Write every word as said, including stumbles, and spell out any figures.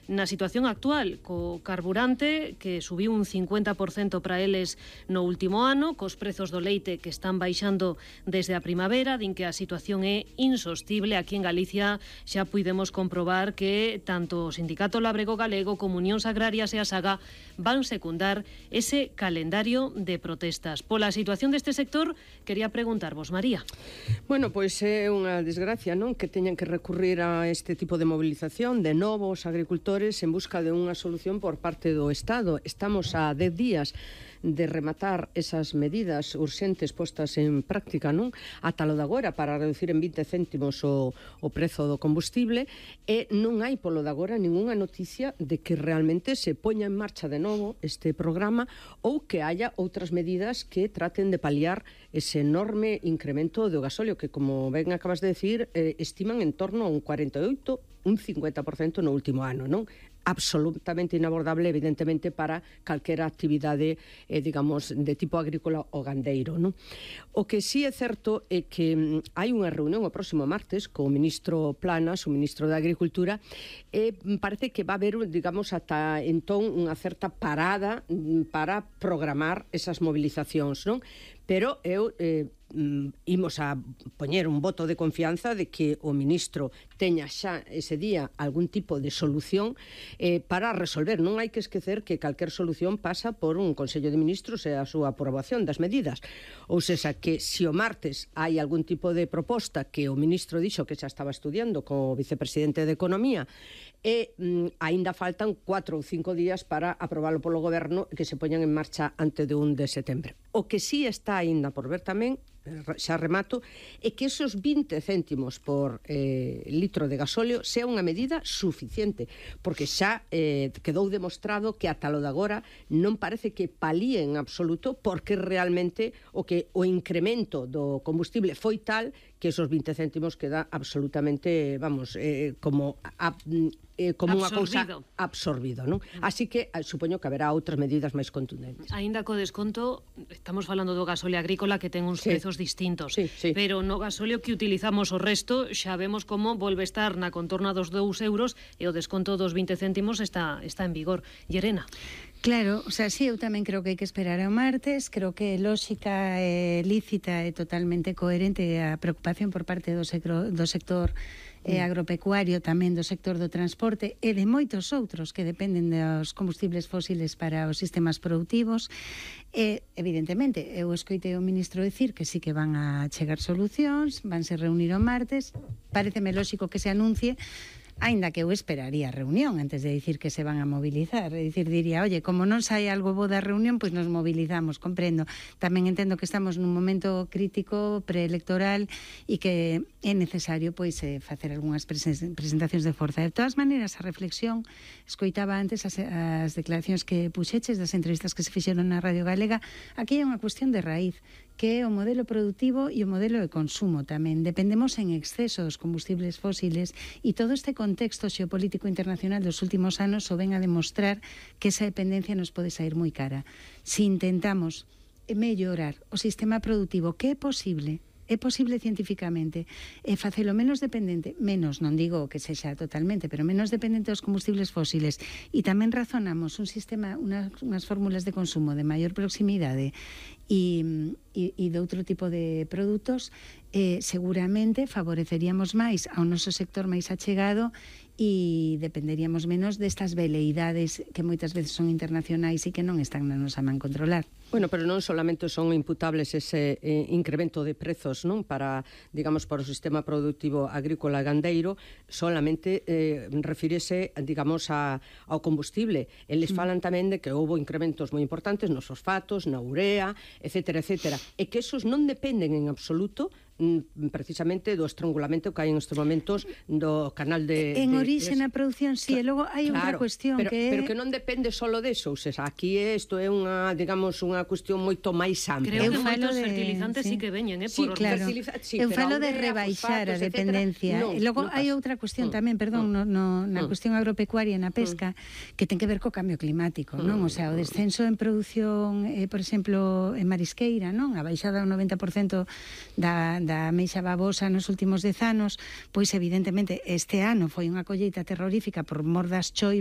na situación actual, co carburante que subiu un cincuenta por cento para eles no último ano, cos prezos do leite que están baixando desde a primavera, din que a situación é insostible. Aquí en Galicia xa puidemos comprobar que tanto o Sindicato Labrego Galego como Unións Agrarias e a Saga van secundar ese calendario de protestas. Pola situación deste sector, quería preguntarvos, María. Bueno, pois é unha desgracia, non? Que teñan que recurrir a este tipo de movilización de novos agricultores en busca de unha solución por parte do Estado. Estamos a dez días de rematar esas medidas urxentes postas en práctica, non? Ata lo de agora para reducir en vinte céntimos o, o prezo do combustible, e non hai polo de agora ningunha noticia de que realmente se poña en marcha de novo este programa ou que haya outras medidas que traten de paliar ese enorme incremento do gasóleo que, como ben acabas de decir, eh, estiman en torno a un cuarenta e oito, un cincuenta por cento no último ano, non? Absolutamente inabordable, evidentemente, para calquera actividade, eh, digamos, de tipo agrícola ou gandeiro, non? O que sí é certo é que mm, hai unha reunión o próximo martes co ministro Planas, o ministro de Agricultura, e parece que va a haber, digamos, ata entón unha certa parada mm, para programar esas movilizacións, non? Pero eu eh, imos a poñer un voto de confianza de que o ministro teña xa ese día algún tipo de solución eh, para resolver. Non hai que esquecer que calquer solución pasa por un Consello de Ministros e a súa aprobación das medidas. Ou seja, que se o martes hai algún tipo de proposta que o ministro dixo que xa estaba estudiando co vicepresidente de Economía, e mm, aínda faltan cuatro ou cinco días para aprobalo polo goberno e que se poñan en marcha antes de un de setembro. O que sí está aínda por ver tamén, xa remato, é que esos vinte céntimos por eh, litro de gasóleo sea unha medida suficiente, porque xa eh, quedou demostrado que ata lo de agora non parece que palíe en absoluto, porque realmente o que o incremento do combustible foi tal que esos vinte céntimos queda absolutamente, vamos, eh, como a, eh, como unha cousa absorbido, non? Así que eh, supoño que haberá outras medidas máis contundentes. Aínda co desconto, estamos falando do gasóleo agrícola que ten uns sí. prezos distintos, sí, sí. pero no gasóleo que utilizamos o resto xa vemos como volve estar na contorna dos dous euros e o desconto dos vinte céntimos está, está en vigor. Llerena. Claro, o sea, sí, eu tamén creo que hai que esperar ao martes, creo que é lógica, é lícita e totalmente coherente a preocupación por parte do sector, do sector eh, agropecuario, tamén do sector do transporte e de moitos outros que dependen dos combustibles fósiles para os sistemas productivos. E, evidentemente, eu escoitei o ministro decir que sí que van a chegar solucións, vanse reunir o martes, pareceme lógico que se anuncie, aínda que eu esperaría a reunión antes de dicir que se van a movilizar. É dicir, diría, oye, como non sai algo bo da reunión, pois nos movilizamos, comprendo. Tamén entendo que estamos nun momento crítico preelectoral e que é necesario pois eh, facer algunhas presentacións de forza. De todas maneiras, a reflexión, escoitaba antes as, as declaracións que puxeches das entrevistas que se fixeron na Radio Galega. Aquí hai unha cuestión de raíz, que é o modelo productivo e o modelo de consumo tamén. Dependemos en exceso dos combustibles fósiles e todo este contexto xeopolítico internacional dos últimos anos o ven a demostrar que esa dependencia nos pode sair moi cara. Si intentamos mellorar o sistema productivo, que é posible, é posible científicamente, e facelo menos dependente, menos, non digo que sexa totalmente, pero menos dependente dos combustibles fósiles, e tamén razonamos un sistema, unas, unhas fórmulas de consumo de maior proximidade e, e, e de outro tipo de produtos, eh, seguramente favoreceríamos máis ao noso sector máis achegado e dependeríamos menos destas veleidades que moitas veces son internacionais e que non están na nosa man controlar. Bueno, pero non solamente son imputables ese eh, incremento de prezos, non, para, digamos, para o sistema productivo agrícola e gandeiro, solamente eh, refírese, digamos, a, ao combustible. Eles mm. falan tamén de que houve incrementos moi importantes nos fosfatos, na urea, etcétera, etcétera, e que esos non dependen en absoluto precisamente do estrangulamento que hai en estes momentos do canal de... En de, orixe na produción, sí, claro, e logo hai outra claro, cuestión pero, que é... Pero que non depende solo deso, ou seja, aquí isto é unha, digamos, unha cuestión moito máis ampla. Creo que moitos de... fertilizantes sí. sí que veñen, eh, sí, por claro. Sí, eu falo de rebaixar a dependencia. No, e logo no hai outra cuestión mm, tamén, perdón, mm, no, no, na mm, cuestión agropecuaria e na pesca, mm, que ten que ver co cambio climático, mm, non? O sea, o descenso en produción, eh, por exemplo, en marisqueira, non? A baixada do noventa por cento da, da meixa babosa nos últimos dez anos, pois evidentemente este ano foi unha colleita terrorífica por mor das choivas